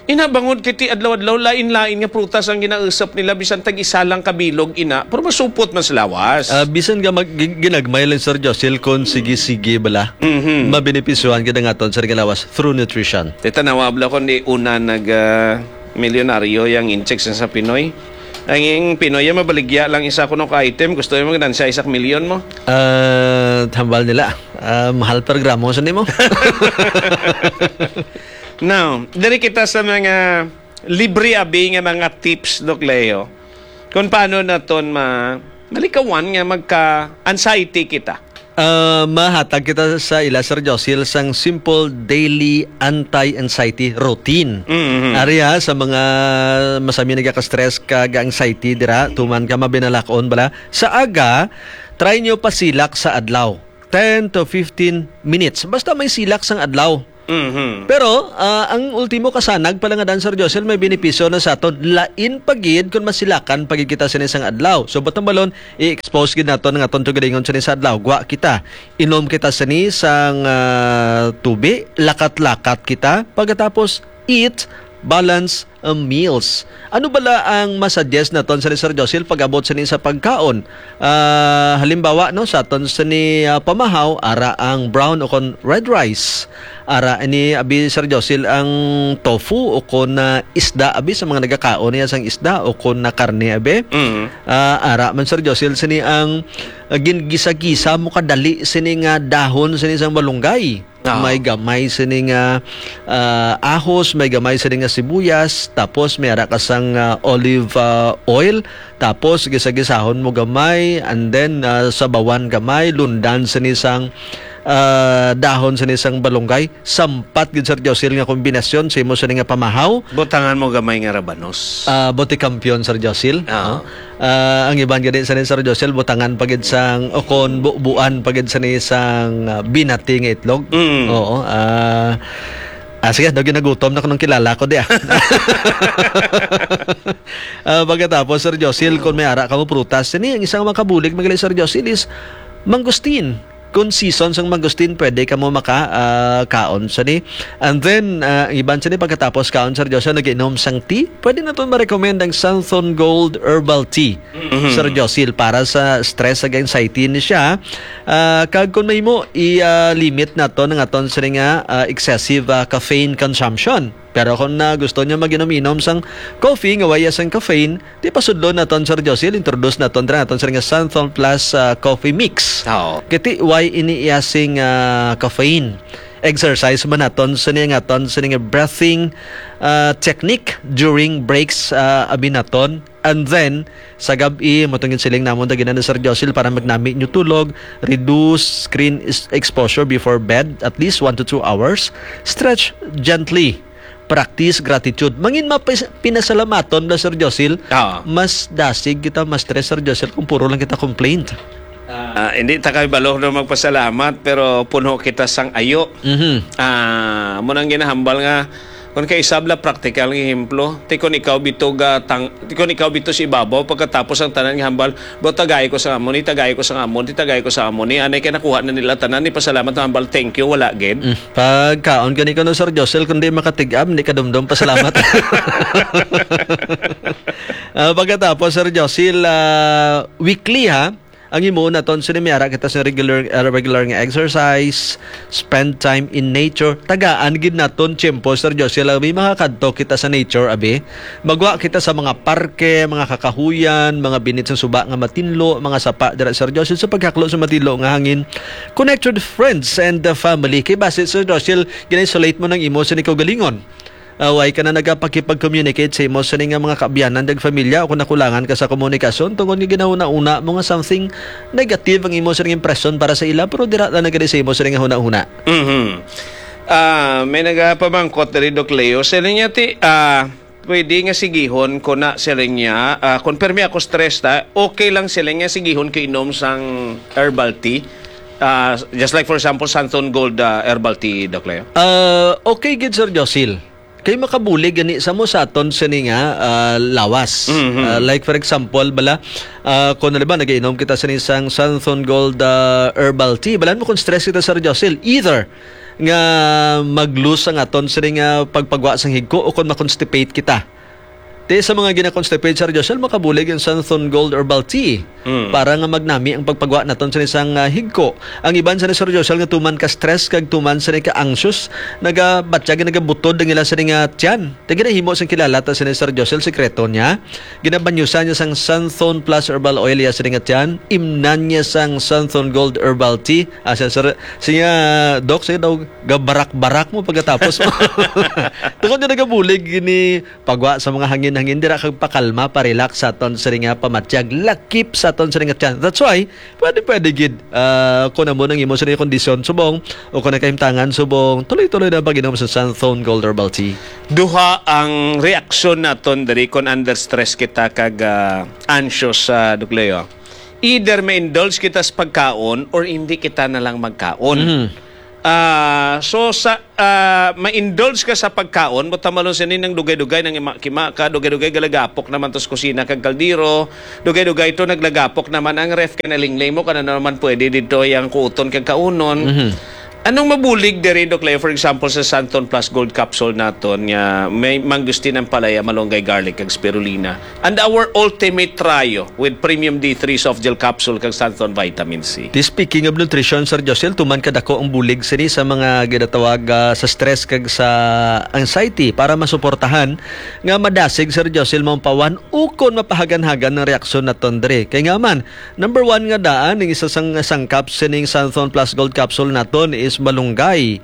Ina, bangod kay ti adlaw-adlaw, lain-lain nga prutas ang ginausap nila, bisan tag isa lang kabilog, ina, pero masupot man sa lawas. Ah, bisan nga mag-, gi-, ginagmay lang, Sir Josil, kung sige-sige bala, Mhm. mabenepisyohan gid ang aton sa lawas through nutrition. Ti tanawa bala kung di una nag, ah, milyonaryo yang inchik sa, sa Pinoy. Ang ing Pinoy, ya mabaligya lang isa kuno ka item, gusto mo ganansya isa ka milyon mo? Ah, hambal nila. Ah, mahal pa gramo sa nimo. Now, diri kita sa mga libre abi nga mga tips, Doc Leo, kung paano naton ma-, malikawan nga magka-anxiety kita. Ah, mahatag kita sa ila, Sir Josil, sang simple daily anti-anxiety routine. Mm-hmm. Ari ha, sa mga masami nagaka-stress kag anxiety dira, tuman ka mabinalakon bala. Sa aga, try nyo pasilak sa adlaw. Ten to fifteen minutes. Basta may silak sang adlaw. Mhm. Pero, ah, ang ultimo kasanag pala nga dan, Sir Josel, may benepisyo na sa aton. Lain pa gid kung masilakan pa gid kita sini sang adlaw. So, batang balon, i-expose gid naton ang aton tugalingon sini sa adlaw. Gwa kita, inom kita sini sang, ah, tubi, lakat-lakat kita. Pagkatapos, eat balance, ah, meals. Ano bala ang masuggest naton sini, Sir Josel, pag-abot sini sa pagkaon? Ah, halimbawa, no, sa aton sini, ah, pamahaw, ara ang brown o kon red rice. Ara ini, abi, Sir Josil, ang tofu o kon na isda, abi, sa mga nagakaon niya sang isda o kon na karne, abi. Mm. Ah, ara man, Sir Josil, sini ang, ah, gin-gisa-gisa mo kadali sini nga dahon sini sang malunggay. Ah. May gamay sini nga, ah, ahos, may gamay sini nga sibuyas, tapos may ara ka sang, ah, olive, ah, oil, tapos gisa-gisahon mo gamay, and then, ah, sabawan gamay, lundan sini sang, ah, dahon sini sang balunggay. Sampat gid, Sir Josil, nga kombinasyon sa imo sini nga pamahaw. Butangan mo gamay nga rabanos. Ah, bote kampiyon, Sir Josil, Ah. no? Ah, ang iban gani sini, Sir Josil, butangan pa gid sang, o kon bu-, buan pa gid sini sang, ah, binati nga itlog. Mm. Oo, ah, ah, sige, daw ginagutom na ko nung kilala ko di, ah. Ah, pagkatapos, Sir Josil, kung may ara ka mo prutas, sini ang isang makabulig, magaling, Sir Josil, is mangustin. Kung season sang mangustin, pwede ka mo maka, ah, kaon sini. And then, ah, ang iban sini, pagkatapos kaon, Sir Josil, nag-inom sang tea, pwede naton ma-recommend ang Santhon Gold Herbal Tea, Mhm. Sir Josil, para sa stress ag anxiety ni siya. Ah, kag kung mahimo, i, ah, limit naton ang aton sini nga, ah, excessive, ah, caffeine consumption. Pero kung na gusto niya mag-inom-inom sang coffee nga way sang caffeine, di pasudlo naton, Sir Josil, introduce naton dira naton, Sir, nga Santhon Plus, ah, Coffee Mix. Oo. Kiti way ini iya sing, ah, caffeine. Exercise man naton sini nga aton sini nga breathing, ah, technique during breaks, ah, abi naton. And then, sa gab-i, matungod siling namon dagina ni Sir Josil para magnami niyo tulog, reduce screen is-, exposure before bed, at least one to two hours. Stretch gently. Practice gratitude. Mangin mapis-, pinasalamaton na, Sir Josil, Oo. mas dasig kita, mas stress, Sir Josil, kung puro lang kita complaint. Ah, hindi ta kay balo na magpasalamat, pero puno kita sang ayo. Mhm. Ah, mo nang ginahambal nga, kung kay isab la praktikal nga ehemplo, ti kung ikaw bito ga tang-, ti kung ikaw bito sa ibabaw, pagkatapos ang tanan nga hambal, "Bro, tagay ko sa amo ni, tagay ko sa amo ni, tagay ko sa amo ni." Anay kay nakuha na nila tanan, ni pasalamat na hambal, "Thank you," wala gid. Mm. Pagkaon gani ko no, Sir Josel, kundi makatig-am, di kadumdum, pasalamat. Ah, pagkatapos, Sir Josel, ah, weekly, ha? Ang imo naton sini may ara kita sa regular, ah, regular nga exercise, spend time in nature. Tagaan gid naton tiyempo, Sir Josel, abi, makakadto kita sa nature, abi. Magwa kita sa mga parke, mga kakahuyan, mga binit sa suba nga matinlo, mga sapa dira, Sir Josel, sa paghaklo sa matinlo nga hangin. Connect with friends and the family. Kay basi, Sir Josel, gina-isolate mo nang imo sa kaugalingon. Ah, way ka na nagapakipag-communicate sa imo sini nga mga kaabyanan kag familya o kung nakulangan ka sa komunikasyon tungod nga ginahuna-una mo nga something negative ang imo sining impresyon para sa ila, pero dira lang na gani sa imo sini nga hunahuna. Mhm. Ah, may nagapamangkot diri, Doc Leo. Siling niya ti, ah, pwede nga sigihon ko na, siling niya, ah, kung permi ako stress ta, okay lang, siling niya, sigihon ko inom sang herbal tea. Ah, just like, for example, Santon Gold, ah, herbal tea, Doc Leo. Ah, okay gid, Sir Josil. Kay makabulig gani sa mo sa aton sini nga, ah, lawas. Mhm. Ah, like, for example, bala, ah, kung, halimbawa, nagainom kita sini sang Santhon Gold, ah, herbal tea, balan mo kung stress kita, Sir Josil, either nga mag-lose ang aton sini nga pagpagwa sang higko o kung ma-constipate kita. Ti sa mga gina-constipate, Sir Josil, makabulig ang Santhon Gold Herbal Tea. Mm. Para nga magnami ang pagpagwa naton sa isang, ah, higko. Ang iban sa ni Sir Josel nga tuman ka stress kag tuman sa ni ka anxious, nagabatyag, nagabutod ang ila sa ni nga tiyan. Ti ginahimo sang kilala ta sa ni Sir Josel, sekreto niya. Ginabanyusan niya sang Santhon Plus Herbal Oil iya sa ni nga tiyan. Imnan niya sang Santhon Gold Herbal Tea. Ah, siya, sir, siya, Doc, siya daw gabarak-barak mo pagkatapos mo. Tungod niya nagabulig ni pagwa sa mga hangin-hangin dira kag pakalma, pa-relax sa aton sini nga pamatyag, lakip sa aton sini nga tiyan. That's why, pwede, pwede gid, ah, kung amo nang imo sini kondisyon subong o kung nagkahimtangan subong, tuloy-tuloy na pag-inom sa Santhon Gold Herbal Tea. Duha ang reaksyon naton diri kung under stress kita kag, ah, anxious, ah, Doc Leo. Either ma-indulge kita sa pagkaon or hindi kita na lang magkaon. Mhm. Ah, so sa, ah, ma-indulge ka sa pagkaon, buta malon sini nang dugay-dugay nang ima-, kima ka, dugay-dugay galagapok naman to sa kusina kag kaldero, dugay-dugay to naglagapok naman ang ref kay nalingling mo, kana naman pwede dito yang kuuton kag kaunon. Mhm. Anong mabulig diri, Doc Leo, for example, sa Santon Plus Gold Capsule naton nga may mangustin, ampalaya, malunggay, garlic, kag spirulina? And our Ultimate Trio with Premium D three Soft Gel Capsule kag Santhon Vitamin C. Ti speaking of nutrition, Sir Josel, tuman kadako ang bulig sini sa mga ginatawag, ah, sa stress kag sa anxiety para masuportahan nga madasig, Sir Josel, maumpawan ukon mapahagan-hagan ang reaksyon naton diri. Kay nga man, number one nga daan, ang isa sang sangkap sining Santhon Plus Gold Capsule naton is malunggay.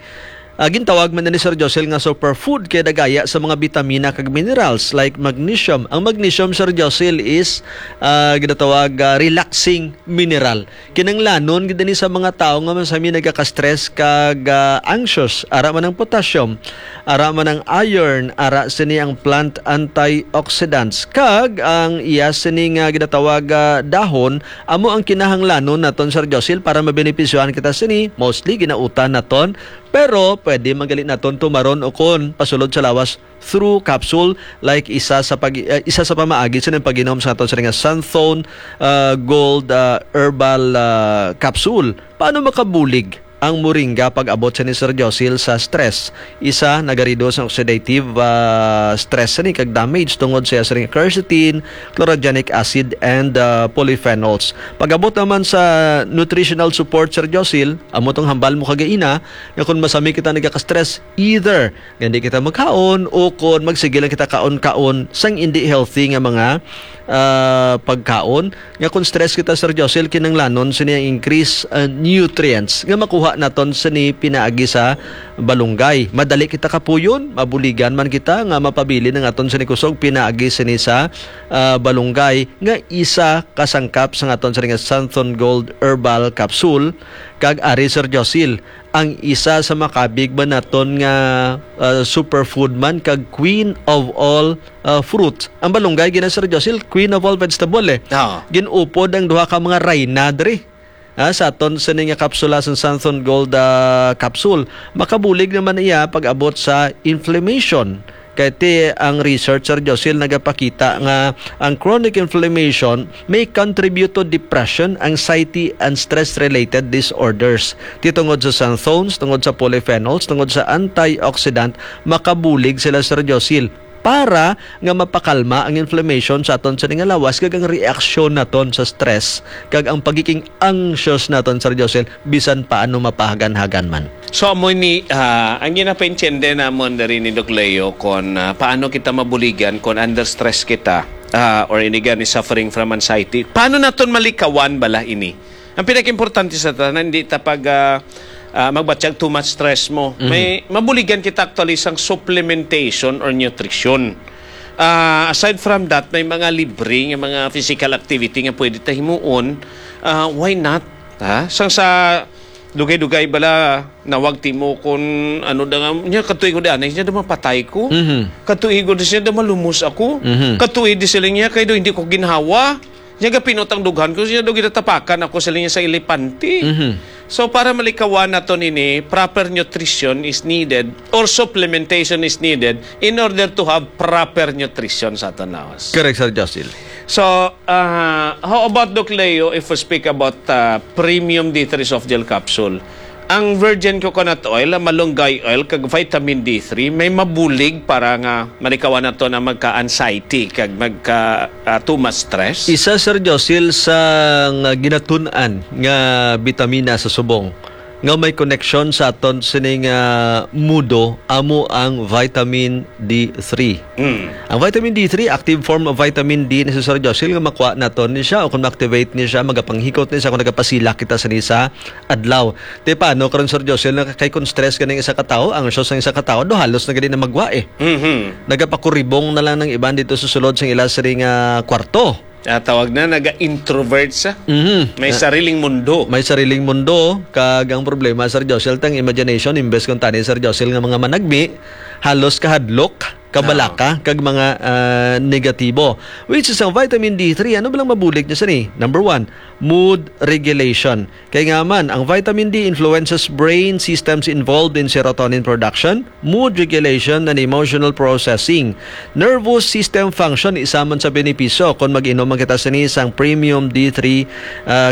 Ah, gintawag man ni Sir Josel nga superfood kay nagaya sa mga bitamina kag minerals like magnesium. Ang magnesium, Sir Josel, is, ah, ginatawag, ah, relaxing mineral. Kinanglanon gid ni sa mga tawo nga masami nagaka-stress kag, ah, anxious. Ara man ang potassium, ara man ang iron, ara sini ang plant antioxidants, kag ang iya sini nga ginatawag, ah, dahon, amo ang kinahanglanon naton, Sir Josel, para mabenepisyohan kita sini. Mostly ginautan naton. Pero pwede man gali naton tumaron o kon pasulod sa lawas through capsule, like isa sa pag-, eh, isa sa pamaagi sa pag-inom sa aton sini nga Santhon, ah, Gold, ah, Herbal, ah, Capsule. Paano makabulig ang moringa pag-abot sini, Sir Josil, sa stress. Isa, nagareduce ang oxidative, ah, stress sini kag damage tungod sa sining quercetin, chlorogenic acid, and, ah, polyphenols. Pag-abot naman sa nutritional support, Sir Josil, amo tong hambal mo kagaina, nga kung masami kita nagaka-stress, either nga hindi kita magkaon o kung magsige lang kita kaon-kaon sang hindi healthy nga mga, ah, pagkaon, nga kung stress kita, Sir Josil, kinanglanon sini ang increase, ah, nutrients nga makuha naton sini pinaagi sa balunggay. Madali kita kapuyon, mabuligan man kita nga mapabilin ang aton sini kusog pinaagi sini sa, ah, balunggay, nga isa ka sangkap sa aton sini nga Santhon Gold Herbal Capsule. Kag ari, Sir Josil, ang isa sa makabig man naton nga, ah, superfood man kag queen of all, ah, fruit. Ang balunggay gina, Sir Josil, queen of all vegetable, eh. Oo. Gin-upod ang duha ka mga rayna diri, ah, sa aton sini nga kapsula sang Santhon Gold, ah, capsule. Makabulig naman iya pag-abot sa inflammation. Kay ti ang research, Sir Josil, nagapakita nga ang chronic inflammation may contribute to depression, anxiety, and stress-related disorders. Ti tungod sa xanthones, tungod sa polyphenols, tungod sa antioxidant, makabulig sila, Sir Josil, para nga mapakalma ang inflammation sa aton sini nga lawas kag ang reaksyon naton sa stress kag ang pagiging anxious naton, Sir Josil, bisan paano mapahagan-hagan man. So, amo ni, ah, ang ginapaintindi namon diri ni Doc Leo kon, ah, paano kita mabuligan kon under stress kita, ah, or ini gani suffering from anxiety. Paano naton malikawan bala ini? Ang pinakaimportante sa tanan, hindi ta pag, ah, ah, magbatyag too much stress mo. Mhm. May mabuligan kita actually sang supplementation or nutrition. Ah, aside from that, may mga libre nga mga physical activity nga pwede ta himuon. Ah, why not? Ha? Sang sa dugay-dugay bala, nawag timo kung ano da nga, niya katuig ko di anay, niya da mapatay ko. Mhm. Katuig ko di siya da malumos ako. Mhm. Katuig di sila niya, kay do hindi ko ginhawa. Niya gapinot ang dughan ko, siya do ginatapakan ako sila niya sa elepante. Mhm. So, para malikawan naton ini, proper nutrition is needed or supplementation is needed in order to have proper nutrition sa aton lawas. Correct, Sir Josil. So, ah, how about, Doc Leo, if we speak about, ah, premium D three soft gel capsule? Ang virgin coconut oil, ang malunggay oil, kag vitamin D three, may mabulig para nga malikawan nato na magka-anxiety kag magka, ah, too much stress? Isa, Sir Josil, sa nga ginatun-an nga bitamina sa subong nga may koneksyon sa aton sining, ah, mudo amo ang vitamin D three. Mm. Ang vitamin D three, active form of vitamin D ni, Sir Josil, nga makuha naton ni siya, o kung ma-activate ni siya, magapanghikot ni siya kung nagapasilak kita sini sa adlaw. Ti paano karon, Sir Josil, na kay kung stress ganing isa ka tawo, anxious ang isa ka tawo, do halos na gani na magwa eh. Mhm. Nagapakuribong na lang ng iban dito sa sulod sang ila sini nga kwarto. Ah, tawag na, naga-introvert sa Mhm. may Ah, sariling mundo. May sariling mundo, kag ang problema, Sir Josil, tang imagination, imbes kung tani, Sir Josil, nga mga managmi, halos kahadlok, kabalaka, Ah. kag mga, ah, negatibo. Which is ang vitamin D three, ano ba lang mabulig niya sini? Number one, mood regulation. Kay nga man, ang vitamin D influences brain systems involved in serotonin production, mood regulation, and emotional processing. Nervous system function, isa man sa benepisyo kon mag-inom man kita sini sang premium D three, ah,